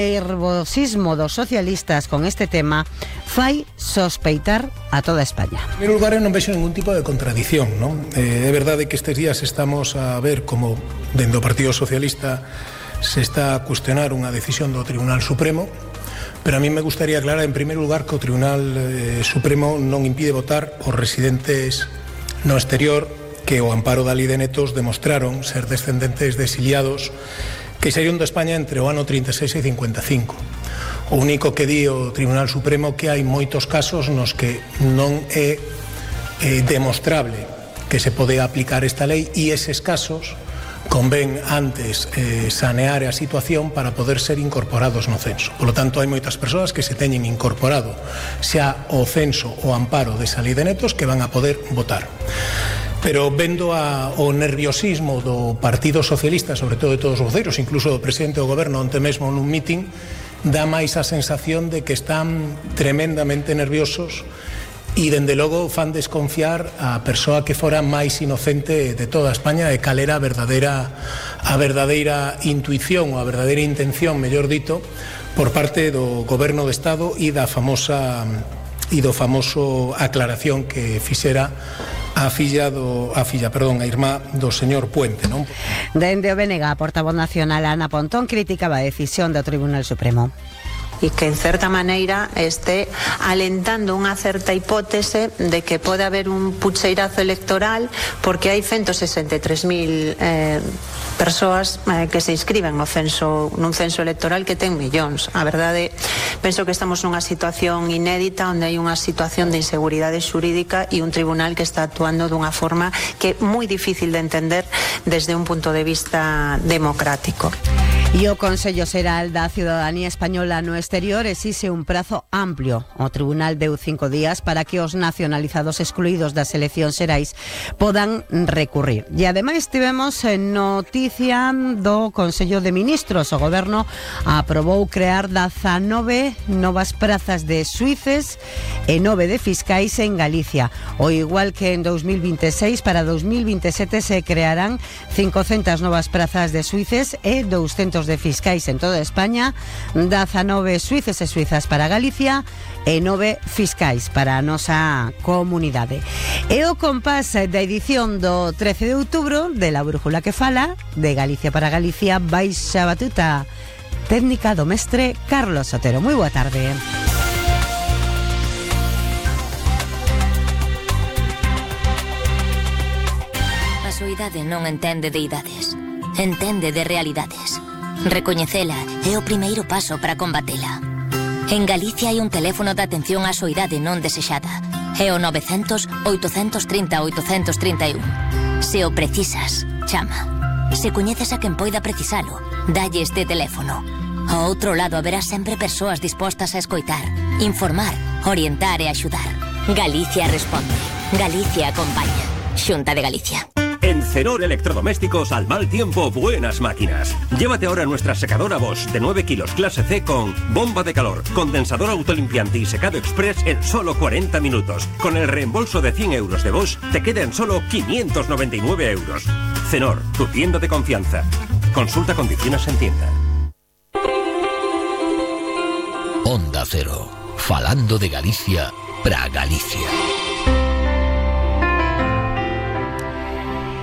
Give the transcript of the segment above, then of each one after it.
nervosismo dos socialistas con este tema fai sospeitar a toda España. En primeiro lugar, eu non vexo ningún tipo de contradición, non? É verdade que estes días estamos a ver como dentro do Partido Socialista se está a cuestionar unha decisión do Tribunal Supremo, pero a mí me gustaría aclarar en primeiro lugar que o Tribunal Supremo non impide votar os residentes no exterior que o amparo da Lei de Netos demostraron ser descendentes de exiliados que saíron de España entre o ano 36 e 55. O único que di o Tribunal Supremo que hai moitos casos nos que non é demostrable que se pode aplicar esta lei e eses casos convén antes sanear a situación para poder ser incorporados no censo. Por lo tanto, hai moitas persoas que se teñen incorporado xa o censo o amparo desa Lei de Netos que van a poder votar. Pero vendo o nerviosismo do Partido Socialista, sobre todo de todos os voceiros, incluso do presidente do goberno onte mesmo nun mitin, dá máis a sensación de que están tremendamente nerviosos e, dende logo, fan desconfiar a persoa que fora máis inocente de toda España e cal era a verdadeira intuición ou a verdadeira intención, mellor dito, por parte do goberno do Estado e do famoso aclaración que fixera a irmá do señor Puente, non? Dende o BNG, a portavoz nacional Ana Pontón criticaba a decisión do Tribunal Supremo. E que en certa maneira este alentando unha certa hipótese de que pode haber un pucheirazo electoral porque hai 163.000 persoas que se inscriben nun censo electoral que ten millóns. A verdade, penso que estamos nunha situación inédita onde hai unha situación de inseguridade xurídica e un tribunal que está actuando dunha forma que é moi difícil de entender desde un punto de vista democrático. E o Consello Xeral da Ciudadanía Española no exterior exixe un prazo amplio. O Tribunal deu 5 días para que os nacionalizados excluídos das eleccións xerais podan recurrir. E ademais tivemos noticia do Consello de Ministros. O Goberno aprobou crear 19 novas prazas de xuíces e 9 de fiscais en Galicia. O igual que en 2026, para 2027 se crearán 500 novas prazas de xuíces e 200 de fiscais en toda España, 19 suíces e suizas para Galicia e 9 fiscais para a nosa comunidade. E o compás da edición do 13 de outubro de La Brújula que fala, de Galicia para Galicia, baixa batuta técnica do mestre Carlos Sotero. Moi boa tarde. A soidade non entende de idades, entende de realidades. Recoñecela é o primeiro paso para combatela. En Galicia hai un teléfono de atención á soidade non desexada. É o 900-830-831. Se o precisas, chama. Se coñeces a quen poida precisalo, dalle este teléfono. Ao outro lado haberá sempre persoas dispostas a escoitar, informar, orientar e axudar. Galicia responde. Galicia acompaña. Xunta de Galicia. En Cenor Electrodomésticos, al mal tiempo, buenas máquinas. Llévate ahora nuestra secadora Bosch de 9 kilos clase C con bomba de calor, condensador autolimpiante y secado express en solo 40 minutos. Con el reembolso de 100 euros de Bosch, te quedan solo 599 euros. Cenor, tu tienda de confianza. Consulta condiciones en tienda. Onda Cero, falando de Galicia pra Galicia.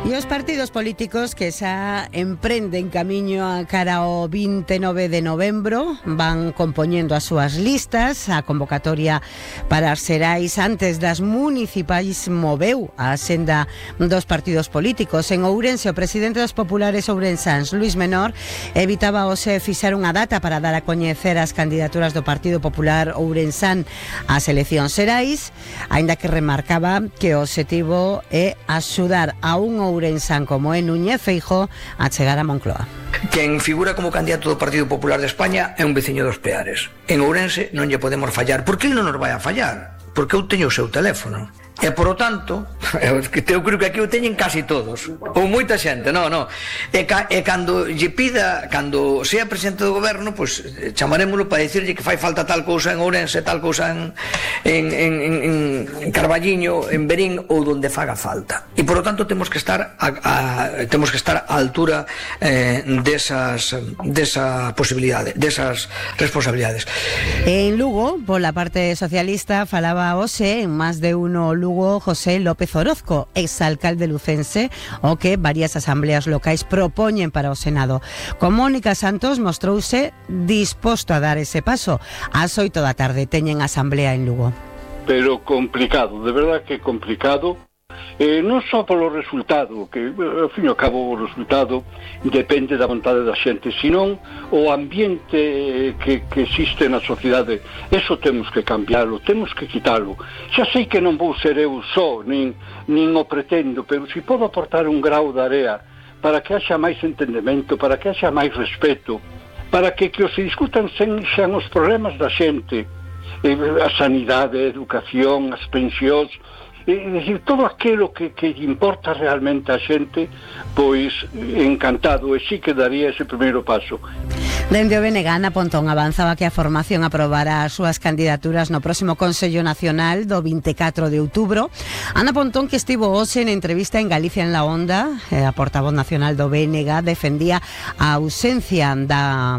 E os partidos políticos que xa emprenden camiño a cara ao 29 de novembro van compoñendo as súas listas. A convocatoria para as xerais antes das municipais moveu a senda dos partidos políticos. En Ourense, o presidente dos populares ourensáns, Luís Menor, evitaba hoxe fixar unha data para dar a coñecer as candidaturas do Partido Popular ourensán ás eleccións xerais, aínda que remarcaba que o obxectivo é axudar a un ourensán como é Núñez Feijóo a chegar a Moncloa. Quen figura como candidato do Partido Popular de España é un veciño dos Peares. En Ourense non lle podemos fallar. Por que ele non nos vai a fallar? Porque eu teño o seu teléfono. E, por o tanto, eu creo que aquí o teñen casi todos, ou moita xente, e cando lle pida, cando sea presidente do goberno, pois chamarémoslo para dicirlle que fai falta tal cousa en Ourense, tal cousa en Carballiño, en Verín, ou donde faga falta. E, por o tanto, temos que estar a altura desa posibilidade, desas responsabilidades. En Lugo, pola parte socialista, falaba hoxe en máis de uno Lugo José López Orozco, exalcalde lucense, o que varias asambleas locais propoñen para o Senado. Con Mónica Santos mostrouse disposto a dar ese paso. Ás 8 da tarde teñen asamblea en Lugo. Pero complicado, de verdad que complicado. Non só polo resultado, que ao fin e ao cabo o resultado depende da vontade da xente, senón o ambiente que existe na sociedade. Eso temos que cambiarlo, temos que quitalo. Xa sei que non vou ser eu só, nin o pretendo, pero se podo aportar un grau de area para que haxa máis entendemento, para que haxa máis respeto, para que os se discutan xan os problemas da xente, a sanidade, a educación, as pensións, é dicir, todo aquilo que importa realmente a xente, pois encantado, e sí que daría ese primeiro paso. Dende o BNG, Ana Pontón avanzaba que a formación aprobará as súas candidaturas no próximo Consello Nacional do 24 de outubro. Ana Pontón, que estivo hoxe en entrevista en Galicia en la Onda, a portavoz nacional do BNG, defendía a ausencia da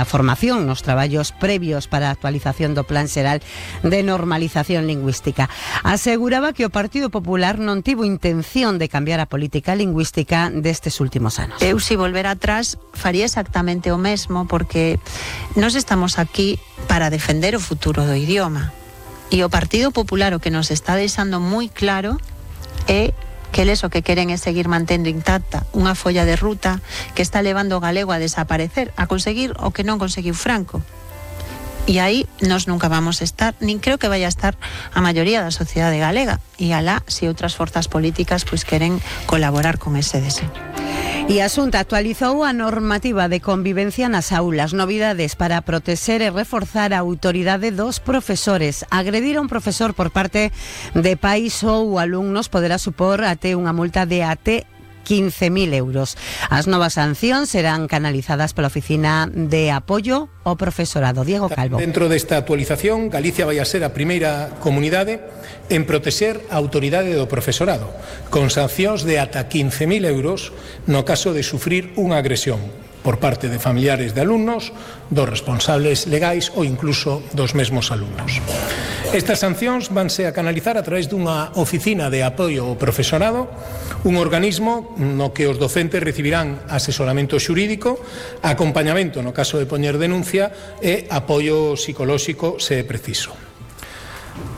formación nos traballos previos para a actualización do Plan Xeral de Normalización Lingüística. Aseguraba que o Partido Popular non tivo intención de cambiar a política lingüística destes últimos anos. Eu, se volver atrás, faría exactamente o mesmo, porque nós estamos aquí para defender o futuro do idioma. E o Partido Popular o que nos está deixando moi claro é que eles o que queren é seguir mantendo intacta unha folla de ruta que está levando o galego a desaparecer, a conseguir o que non conseguiu Franco. E aí nós nunca vamos estar, nin creo que vaya a estar a maioría da sociedade galega, e alá se outras forzas políticas pois queren colaborar con ese deseo. E a Xunta actualizou a normativa de convivencia nas aulas. Novidades para protexer e reforzar a autoridade dos profesores. Agredir a un profesor por parte de pais ou alumnos poderá supor até unha multa de até 15.000 euros. As novas sancións serán canalizadas pola Oficina de Apoio ao Profesorado. Diego Calvo. Dentro desta actualización, Galicia vai a ser a primeira comunidade en protexer a autoridade do profesorado, con sancións de ata 15.000 euros no caso de sufrir unha agresión por parte de familiares de alumnos, dos responsables legais ou incluso dos mesmos alumnos. Estas sancións vanse a canalizar a través dunha oficina de apoio ao profesorado, un organismo no que os docentes recibirán asesoramento xurídico, acompañamento no caso de poñer denuncia e apoio psicolóxico se é preciso.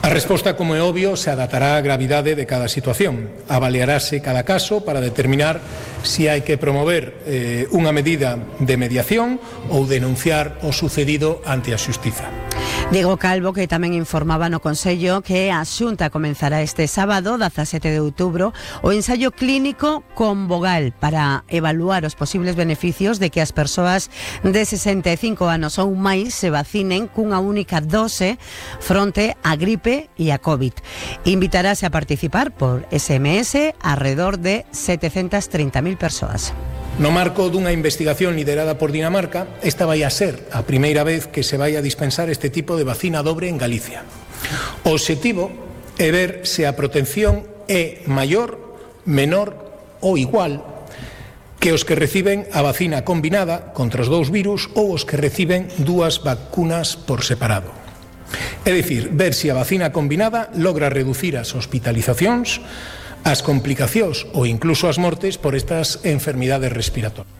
A resposta, como é obvio, se adaptará á gravidade de cada situación. Avaliarase cada caso para determinar se hai que promover unha medida de mediación ou denunciar o sucedido ante a xustiza. Diego Calvo, que tamén informaba no Consello que a Xunta comenzará este sábado, 17 de outubro, o ensaio clínico con Vogal para evaluar os posibles beneficios de que as persoas de 65 anos ou máis se vacinen cunha única dose fronte á gripe e a COVID. Invitarase a participar por SMS alrededor de 730.000 persoas. No marco dunha investigación liderada por Dinamarca, esta vai a ser a primeira vez que se vai a dispensar este tipo de vacina dobre en Galicia. O obxectivo é ver se a protección é maior, menor ou igual que os que reciben a vacina combinada contra os dous virus ou os que reciben dúas vacunas por separado. É dicir, ver se a vacina combinada logra reducir as hospitalizacións, as complicacións ou incluso as mortes por estas enfermidades respiratorias.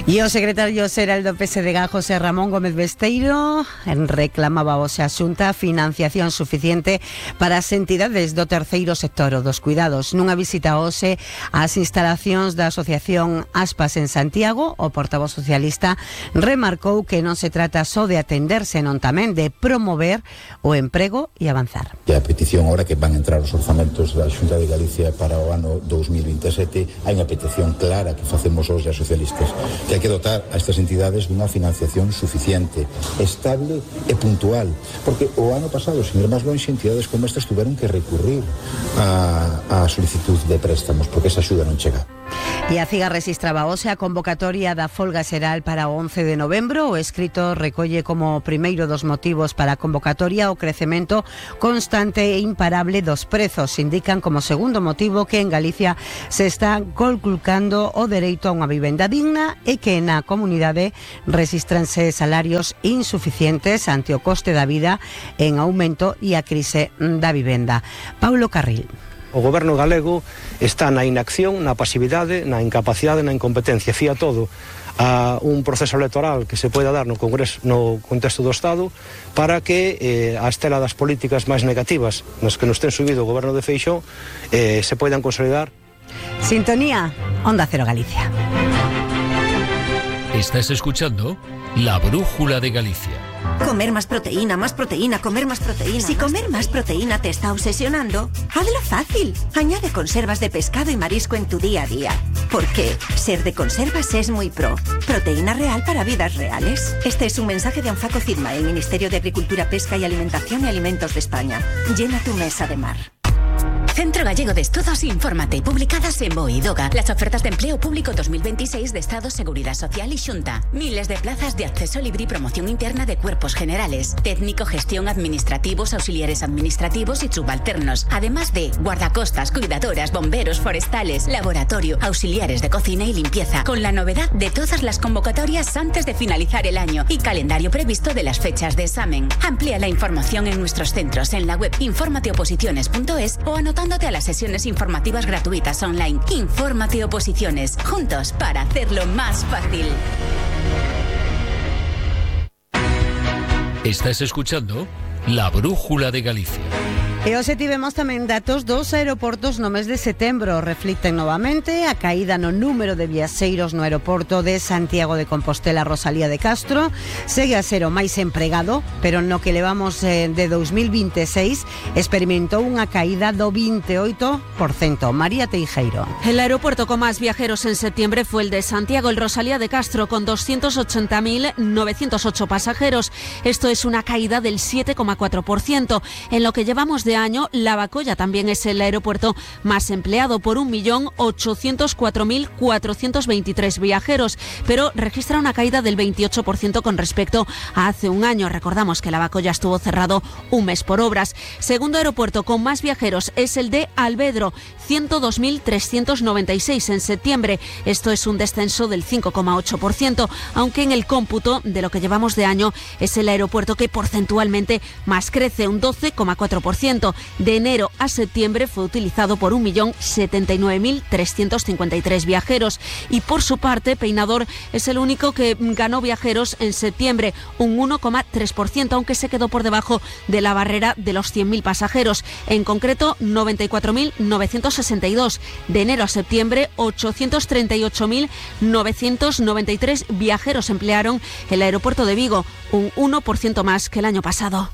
E o secretario xeral do PSDG, José Ramón Gómez Besteiro, reclamaba hoxe a Xunta financiación suficiente para as entidades do terceiro sector ou dos cuidados. Nunha visita hoxe ás instalacións da Asociación Aspas en Santiago, o portavoz socialista remarcou que non se trata só de atender, senón tamén de promover o emprego e avanzar. E a petición ahora que van entrar os orzamentos da Xunta de Galicia para o ano 2027, hai unha petición clara que facemos hoxe as socialistas que hai que dotar a estas entidades dunha financiación suficiente, estable e puntual, porque o ano pasado, sin ir máis longe, entidades como estas tuveron que recurrir a solicitud de préstamos porque esa axuda non chega. E a CIGA rexistraba hoxe a convocatoria da folga xeral para o 11 de novembro. O escrito recolle como primeiro dos motivos para a convocatoria o crecemento constante e imparable dos prezos. Indican como segundo motivo que en Galicia se está conculcando o dereito a unha vivenda digna e que na comunidade rexistranse salarios insuficientes ante o coste da vida en aumento e a crise da vivenda. Paulo Carril. O goberno galego está na inacción, na pasividade, na incapacidade, na incompetencia. Fía todo a un proceso electoral que se poida dar no Congreso, no contexto do Estado, para que a estela das políticas máis negativas nas que nos ten subido o goberno de Feixóo se poidan consolidar. Sintonía, Onda Cero Galicia. Estás escuchando La Brújula de Galicia. Comer más proteína, comer más proteína. Si comer más proteína te está obsesionando, hazlo fácil. Añade conservas de pescado y marisco en tu día a día. Porque ser de conservas es muy pro. Proteína real para vidas reales. Este es un mensaje de Anfaco Firma, el Ministerio de Agricultura, Pesca y Alimentación y Alimentos de España. Llena tu mesa de mar. Centro Gallego de Estudos Infórmate, publicadas en BOE y DOGA. Las ofertas de empleo público 2026 de Estado, Seguridad Social y Xunta. Miles de plazas de acceso libre y promoción interna de cuerpos generales, técnico, gestión, administrativos, auxiliares administrativos y subalternos. Además de guardacostas, cuidadoras, bomberos, forestales, laboratorio, auxiliares de cocina y limpieza. Con la novedad de todas las convocatorias antes de finalizar el año y calendario previsto de las fechas de examen. Amplía la información en nuestros centros en la web informateoposiciones.es o anotándote a las sesiones informativas gratuitas online. Infórmate Oposiciones, juntos para hacerlo más fácil. Estás escuchando La Brújula de Galicia. E hoxe tivemos tamén datos dos aeroportos no mes de setembro. Reflicten novamente a caída no número de viaxeiros no aeroporto de Santiago de Compostela Rosalía de Castro. Segue a ser o máis empregado, pero no que levamos de 2026 experimentou unha caída do 28%. María Teijeiro. El aeropuerto con más viajeros en septiembre fue el de Santiago, el Rosalía de Castro, con 280.908 pasajeros. Esto es una caída del 7,4%. En lo que llevamos de año, Lavacolla también es el aeropuerto más empleado por 1.804.423 viajeros, pero registra una caída del 28% con respecto a hace un año. Recordamos que Lavacolla estuvo cerrado un mes por obras. Segundo aeropuerto con más viajeros es el de Alvedro, 102.396 en septiembre. Esto es un descenso del 5,8%, aunque en el cómputo de lo que llevamos de año es el aeropuerto que porcentualmente más crece, un 12,4%. De enero a septiembre fue utilizado por 1.079.353 viajeros. Y por su parte, Peinador es el único que ganó viajeros en septiembre, un 1,3%, aunque se quedó por debajo de la barrera de los 100.000 pasajeros. En concreto, 94.962. De enero a septiembre, 838.993 viajeros emplearon el aeropuerto de Vigo, un 1% más que el año pasado.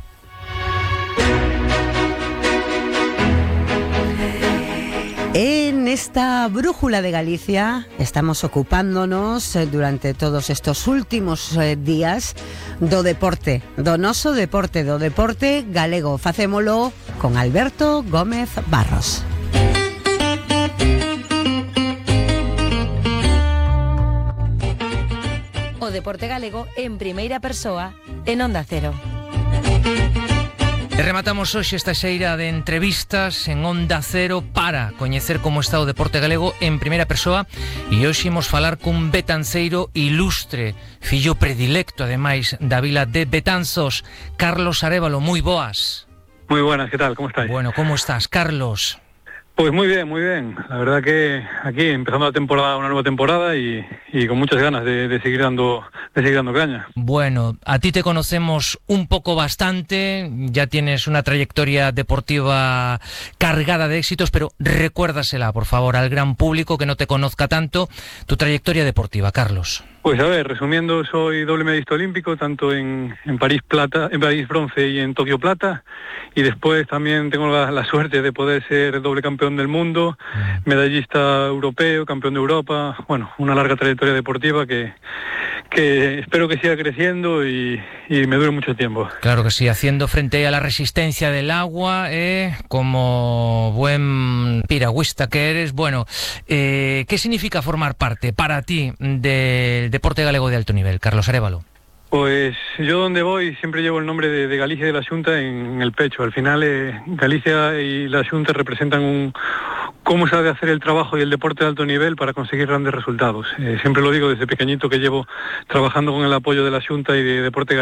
En esta brújula de Galicia estamos ocupándonos durante todos estos últimos días do deporte, do noso deporte, do deporte galego. Facémolo con Alberto Gómez Barros. O deporte galego en primeira persoa en Onda Cero. E rematamos hoxe esta xeira de entrevistas en Onda Cero para coñecer como está o deporte galego en primeira persoa, e hoxe imos falar cun betanceiro ilustre, fillo predilecto ademais da vila de Betanzos, Carlos Arévalo. Moi boas. Muy buenas, ¿qué tal? ¿Cómo estáis? Bueno, ¿cómo estás, Carlos? Pues muy bien, muy bien. La verdad que aquí empezando la temporada, una nueva temporada y con muchas ganas de seguir dando caña. Bueno, a ti te conocemos un poco bastante, ya tienes una trayectoria deportiva cargada de éxitos, pero recuérdasela, por favor, al gran público que no te conozca tanto, tu trayectoria deportiva, Carlos. Pues a ver, resumiendo, soy doble medallista olímpico, tanto en París bronce y en Tokio plata, y después también tengo la suerte de poder ser doble campeón del mundo, medallista europeo, campeón de Europa, bueno, una larga trayectoria deportiva que espero que siga creciendo y me dure mucho tiempo. Claro que sí, haciendo frente a la resistencia del agua, como buen piragüista que eres. Bueno, ¿qué significa formar parte para ti del deporte galego de alto nivel, Carlos Arévalo? Pues yo donde voy siempre llevo el nombre de Galicia y de la Xunta en el pecho. Al final Galicia y la Xunta representan cómo se ha de hacer el trabajo y el deporte de alto nivel para conseguir grandes resultados. Siempre lo digo desde pequeñito que llevo trabajando con el apoyo de la Xunta y de Deporte Galego.